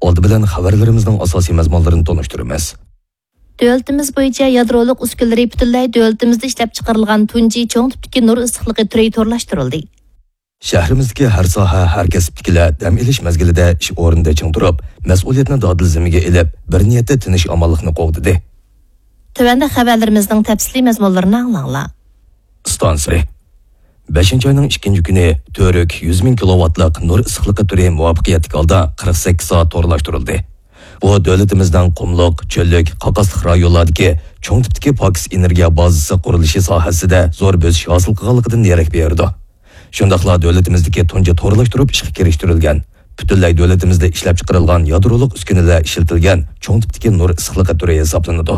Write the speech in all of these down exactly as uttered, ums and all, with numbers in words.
ئالدى بىلەن خەۋەرلىرىمىزنىڭ ئاساسىي مەزمۇنلىرىنى تونۇشتۇرىمىز. دۆلىتىمىز بويىچە يادرولۇق ئۈسكۈنىلىرى پۈتۈنلەي دۆلىتىمىزدە ئىشلەپچىقىرىلغان تۇنجى چوڭ تىپتىكى نۇر ئىسسىقلىقى تۈرى تورلاشتۇرۇلدى. شەھىرىمىزدىكى ھەر ساھە، ھەر كەسىپتىكىلەر دەم ئېلىش مەزگىلىدە ئىش ئورنىدا چىڭ تۇرۇپ، مەسئۇلىيەتنى دادىل زىممىگە ئېلىپ، بىر نىيەتتە تىنچ-ئامانلىقنى قوغدىدى. تۆۋەندە خەۋەرلىرىمىزنىڭ تەپسىلىي مەزمۇنلىرىنى ئاڭلاڭلار. ئىستانسىسى. بەشىنچى ئاينىڭ ئىككىنچى كۈنى تۈرك يۈز مىڭ كىلوۋاتلىق نۇر ئىسسىقلىقى تۈرى مۇۋەپپەقىيەتلىك ھالدا قىرىق سەككىز سائەت تورلاشتۇرۇلدى. بۇ دۆلىتىمىزنىڭ قۇملۇق، چۆللۈك، قاقاسلىق رايونلاردىكى چوڭ تىپتىكى پاكىز ئېنېرگىيە بازىسى قۇرۇلۇشى ساھەسىدە زور بۆسۈش ھاسىل قىلغانلىقىدىن دېرەك بېرىدۇ. شۇنداقلا دۆلىتىمىزدىكى تۇنجى تورلاشتۇرۇپ ئىشقا كىرىشتۈرۈلگەن، پۈتۈنلەي دۆلىتىمىزدە ئىشلەپچىقىرىلغان يادرولۇق ئۈسكۈنىلەر ئىشلىتىلگەن چوڭ تىپتىكى نۇر ئىسسىقلىقى تۈرى ھېسابلىنىدۇ.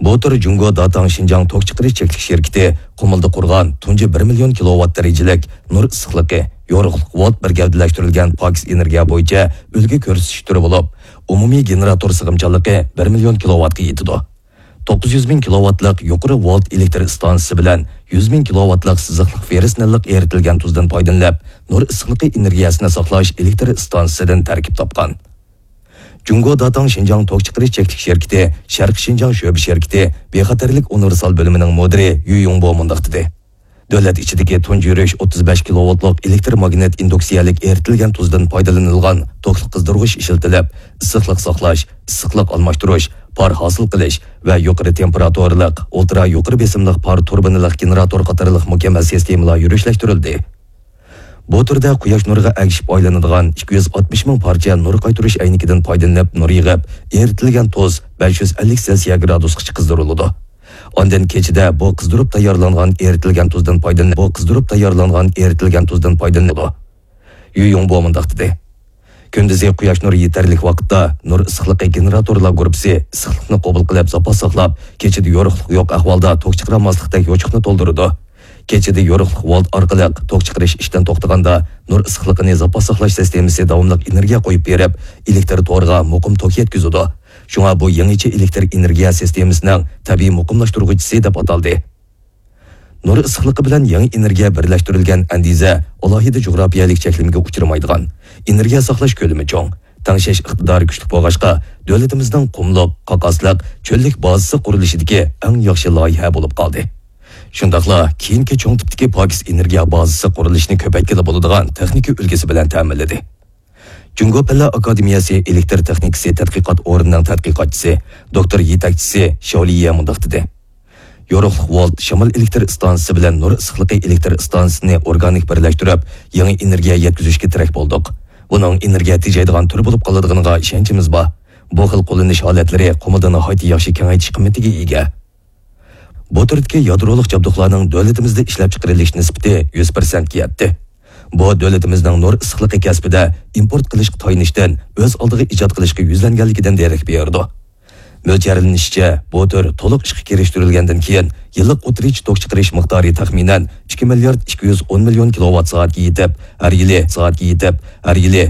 بۇ تۈر جۇڭگو داتاڭ شىنجاڭ توك چىقىرىش چەكلىك شىركىتى قۇمۇلدا قۇرغان تۇنجى بىر مىليون كىلوۋات دەرىجىلىك نۇر ئىسسىقلىقى، يورۇقلۇق ۋولت بىر گەۋدىلەشتۈرۈلگەن پاكىز ئېنېرگىيە بويىچە ئۈلگە كۆرسىتىش تۈرى بولۇپ، ئومۇمىي گېنېراتور سىغىمچانلىقى بىر مىليون كىلوۋاتقا يېتىدۇ. توققۇز يۈز مىڭ كىلوۋاتلىق يۇقىرى ۋولت ئېلېكتر ئىستانسىسى بىلەن يۈز مىڭ كىلوۋاتلىق سىزىقلىق فېررس نىللىق ئېرىتىلگەن تۇزدىن پايدىلىنىپ، نۇر ئىسسىقلىقى ئېنېرگىيەسىنى ساقلاش ئېلېكتر ئىستانسىسىدىن تەركىب تاپقان. جۇڭگو داتاڭ شىنجاڭ توك چىقىرىش چەكلىك شىركىتى شەرقىي شىنجاڭ شۆبە شىركىتى بىخەتەرلىك ئۇنىۋېرسال بۆلۈمىنىڭ مۇدىرى يۈ يۇڭبو مۇنداق دېدى. دۆلەت ئىچىدىكى تۇنجى يۈرۈش ئوتتۇز بەش كىلوۋاتلىق ئېلېكتر ماگنىت ئىندۇكسىيەلىك ئېرىتىلگەن تۇزدىن پايدىلىنىلغان توكلۇق قىزدۇرغۇچ ئىشلىتىلىپ، ئىسسىقلىق ساقلاش، ئىسسىقلىق ئالماشتۇرۇش، پار ھاسىل قىلىش ۋە يۇقىرى تېمپېراتۇرىلىق، ئۇلترا يۇقىرى بېسىملىق پار تۇربىنىلىق گېنېراتور قاتارلىق مۇكەممەل سىستېمىلار يۈرۈشلەشتۈرۈلدى. بۇ تۈردە قۇياش نۇرىغا ئەگىشىپ ئايلىنىدىغان ئىككى يۈز ئاتمىش مىڭ پارچە نۇر قايتۇرۇش ئەينىكىدىن پايدىلىنىپ نۇر يىغىپ، ئېرىتىلگەن تۇز بەش يۈز ئەللىك سېلسىيە گرادۇسقىچە قىزدۇرۇلىدۇ. ئاندىن كېچىدە بۇ قىزدۇرۇپ تەييارلانغان ئېرىتىلگەن تۇزدىن پايدىلىنىدۇ. بۇ قىزدۇرۇپ تەييارلانغان ئېرىتىلگەن تۇزدىن پايدىلىنىدۇ. يۈ يۇڭبو مۇنداق دېدى. كۈندۈزى قۇياش نۇرى يېتەرلىك ۋاقىتتا نۇر ئىسسىقلىقى گېنېراتورلار گۇرۇپپىسى ئىسسىقلىقنى قوبۇل قىلىپ، زاپاس ساقلاپ، كېچىدە يورۇقلۇق يوق ئەھۋالدا توك چىقىرالماسلىقتەك يوچۇقنى تولدۇرىدۇ. كېچىدە يورۇقلۇق ۋولت ئارقىلىق توك چىقىرىش ئىشتىن توختىغاندا، نۇر ئىسسىقلىقىنى زاپاس ساقلاش سىستېمىسى داۋاملىق ئېنېرگىيە قويۇپ بېرىپ، ئېلېكتر تورىغا مۇقىم توك يەتكۈزىدۇ. شۇڭا بۇ يېڭىچە ئېلېكتر ئېنېرگىيە سىستېمىسىنىڭ تەبىئىي مۇقىملاشتۇرغۇچىسى دەپ ئاتالدى. نۇر ئىسسىقلىقى بىلەن يېڭى ئېنېرگىيە بىرلەشتۈرۈلگەن ئەندىزە ئالاھىدە جۇغراپىيەلىك چەكلىمىگە ئۇچرىمايدىغان، ئېنېرگىيە ساقلاش كۆلىمى چوڭ، تەڭشەش ئىقتىدارى كۈچلۈك بولغاچقا، دۆلىتىمىزنىڭ قۇملۇق، قاقاسلىق، چۆللۈك بازىسى قۇرۇلۇشىدىكى ئەڭ ياخشى لايىھە بولۇپ قالدى. شۇنداقلا كېيىنكى چوڭ تىپتىكى پاكىز ئېنېرگىيە بازىسى قۇرۇلۇشىنى كۆپەيتكىلى بولىدىغان تېخنىكا ئۈلگىسى بىلەن تەمىنلىدى. جۇڭگو پەنلەر ئاكادېمىيەسى ئېلېكتر تېخنىكىسى تەتقىقات ئورنىنىڭ تەتقىقاتچىسى، دوكتور يېتەكچىسى شياۋ لىيې مۇنداق دېدى: يورۇقلۇق ۋولت شامال ئېلېكتر ئىستانسىسى بىلەن نۇر ئىسسىقلىقى ئېلېكتر ئىستانسىسىنى ئورگانىك بىرلەشتۈرۈپ، يېڭى ئېنېرگىيە يەتكۈزۈشكە تىرەك بولدۇق. بۇنىڭ ئېنېرگىيە تېجەيدىغان تۈر بولۇپ قالىدىغىنىغا ئىشەنچىمىز بار. بۇ خىل قوللىنىش ھالەتلىرى قۇمۇلدا ناھايىتى ياخشى كېڭەيتىش قىممىتىگە ئىگە. بۇ تۈردىكى يادرولۇق جابدۇقلارنىڭ دۆلىتىمىزدە ئىشلەپچىقىرىلىش نىسبىتى يۈز پىرسەنتكە يەتتى. بۇ دۆلىتىمىزنىڭ نۇر ئىسسىقلىقى كەسپىدە ئىمپورت قىلىشقا تايىنىشتىن ئۆز ئالدىغا ئىجاد قىلىشقا يۈزلەنگەنلىكىدىن دېرەك بېرىدۇ. مۆلچەرلىنىشىچە، بۇ تۈر تولۇق ئىشقا كىرىشتۈرۈلگەندىن كېيىن، يىللىق ئوتتۇرىچە توك چىقىرىش مىقدارى تەخمىنەن ئىككى مىليارد ئىككى يۈز ئون مىليون كىلوۋات سائەتكە يېتىپ، ھەر يىلى، سائەتكە يېتىپ، ھەر يىلى